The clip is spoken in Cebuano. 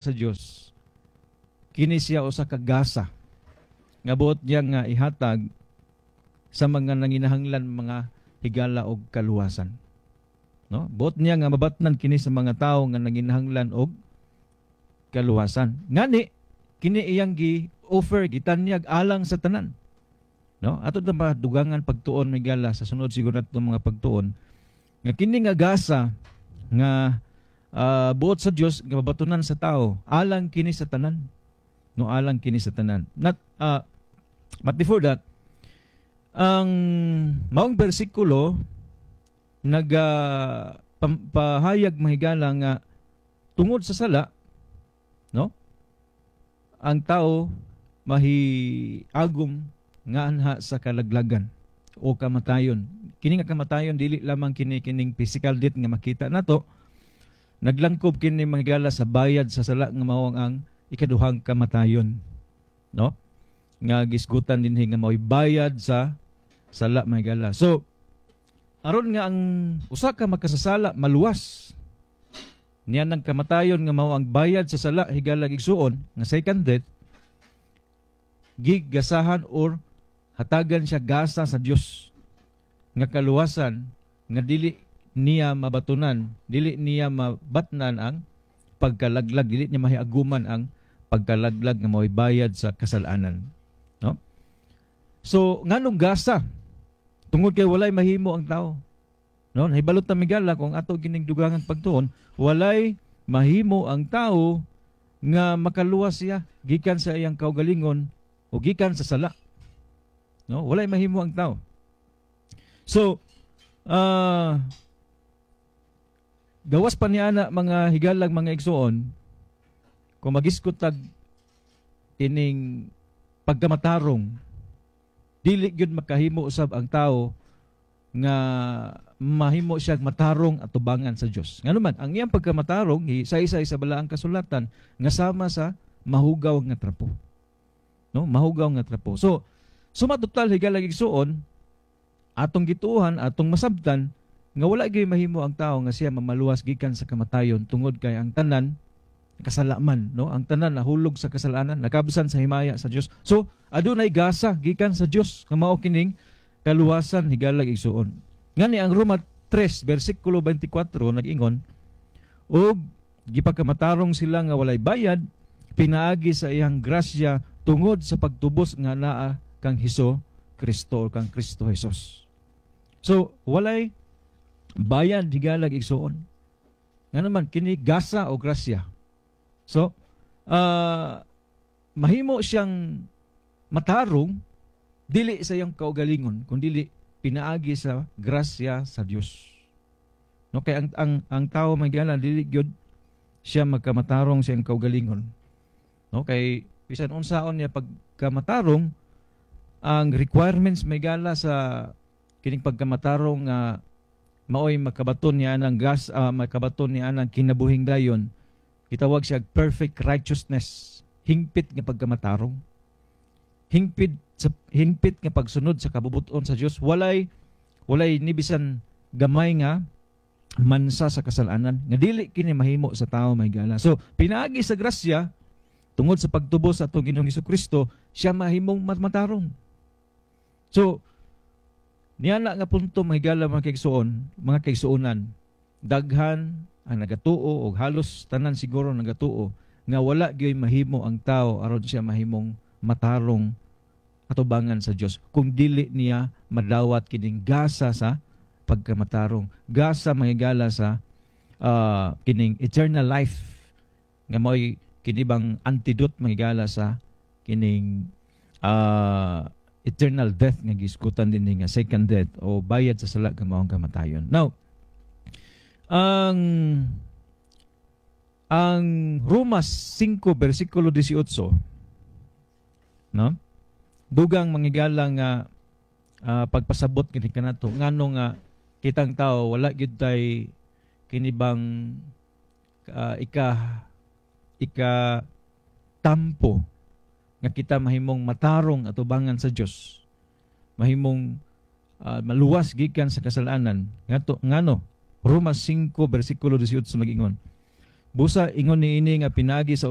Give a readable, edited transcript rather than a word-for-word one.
Sa Dios, kini siya usa ka gasa nga buot niya nga ihatag sa mga nanginahanglan, mga higala, og kaluwasan. No? Buot niya nga mabatnan kini sa mga tawo nga nanginahanglan og kaluwasan. Ngani kini iyang gi-offer, gitanyag alang sa tanan. No? Ato na madugangan pagtuon, migala, sa sunod siguro nato mga pagtuon nga kini nga gasa nga buot sa Dios nga mabatunan sa tao, alang kini sa tanan. No, alang kini sa tanan. Not but before that, ang maong bersikulo naga pahayag, mahigala, nga tungod sa sala, no, ang tao mahiagom nga anha sa kalaglagan o kamatayon. Kini nga kamatayon, dili lamang kini kining physical death nga makita nato. Naglangkob kini, mahigala, sa bayad sa sala nga mao ang ikaduhang kamatayon, no, nga gisgutan dinhi nga mao'y bayad sa sala, mahigala. So aron nga ang usa ka makasasala maluwas niya ng kamatayon nga mao ang bayad sa sala, higala, igsuon, nga second death, gigasahan or hatagan siya gasa sa Dios nga kaluwasan nga dili niya mabatunan, dili niya mabatnan ang pagkalaglag, dili niya mahiaguman ang pagkalaglag nga mao'y bayad sa kasalanan, no? So nganong gasa? Tungod kay walay mahimo ang tao, no? Nahibalo ta, migala, kung ato gining dugangan pagtuon, walay mahimo ang tao nga makaluwas siya gikan sa iyang kaugalingon o gikan sa sala, no? Walay mahimo ang tao. So gawas pa niya na, mga higalag, mga igsuon, kung magisgot tag kining pagkamatarong, dili gyud makahimo usab ang tao nga mahimo siya matarong atubangan sa Dios. Ngano man, ang iyang pagkamatarong sa isa balaang kasulatan nga sama sa mahugaw nga trapo. No, mahugaw nga trapo. So, suma total, higalag, igsuon, atong gituohan, atong masabtan nga wala gyud mahimo ang tao nga siya mamaluwas gikan sa kamatayon tungod kay ang tanan kasalaman, no? Ang tanan nahulog sa kasalanan, nakabsan sa himaya sa Dios. So, adunay gasa gikan sa Dios nga mao kining kaluwasan, higalag, igsuon. Ngani ang Roma 3 bersikulo 24 nag-ingon, "Ug gipakamatarong sila nga walay bayad pinaagi sa iyang grasya tungod sa pagtubos nga naa kang Hesus Kristo o kang Kristo Jesus." So, walay bayad, higalag, igsuon. Nga naman kini gasa o grasya. So, mahimo siyang matarong dili sa iyang kaugalingon kundi pinaagi sa grasya sa Dios. No, kay ang tao, may dili gyud siya magkamatarong sa iyang kaugalingon. No, kay bisan unsaon niya pagkamatarong, ang requirements, may gala, sa kining pagkamatarong nga maoy makabaton niya ang gas makabaton niya ang kinabuhing dayon, gitawag siya perfect righteousness, hingpit nga pagkamatarong, hingpit sa hingpit nga pagsunod sa kabubuton sa Dios, walay ni bisan gamay nga mansa sa kasalanan, nga dili kini mahimo sa tao, may gala. So pinaagi sa grasya tungod sa pagtubos sa atong Ginoong Kristo, siya mahimong matarong. So niya na nga punto, mahigala, mga kaigsuon, mga kaigsuonan, daghan ang nagatuo og halos tanan siguro nagatuo nga wala gyoy mahimo ang tao aron siya mahimong matarong atubangan sa Dios kung dili niya madawat kining gasa sa pagkamatarong, gasa, mahigala, sa kining eternal life nga mao'y kinibang antidote, mahigala, sa kining eternal death nga gisgutan din nga second death o bayad sa sala nga maong kamatayon. Now, ang Roma 5 bersikulo 18, no, dugang mangigala nga pagpasabot kini kanato ngano nga kitang tao wala gyud tay kinibang ika ika tampo nga kita mahimong matarong atubangan sa Dios, mahimong maluwas gikan sa kasalanan. Ngadto ngano Roma 5 bersikulo 18 magingon, Busa ingon niini nga pinaagi sa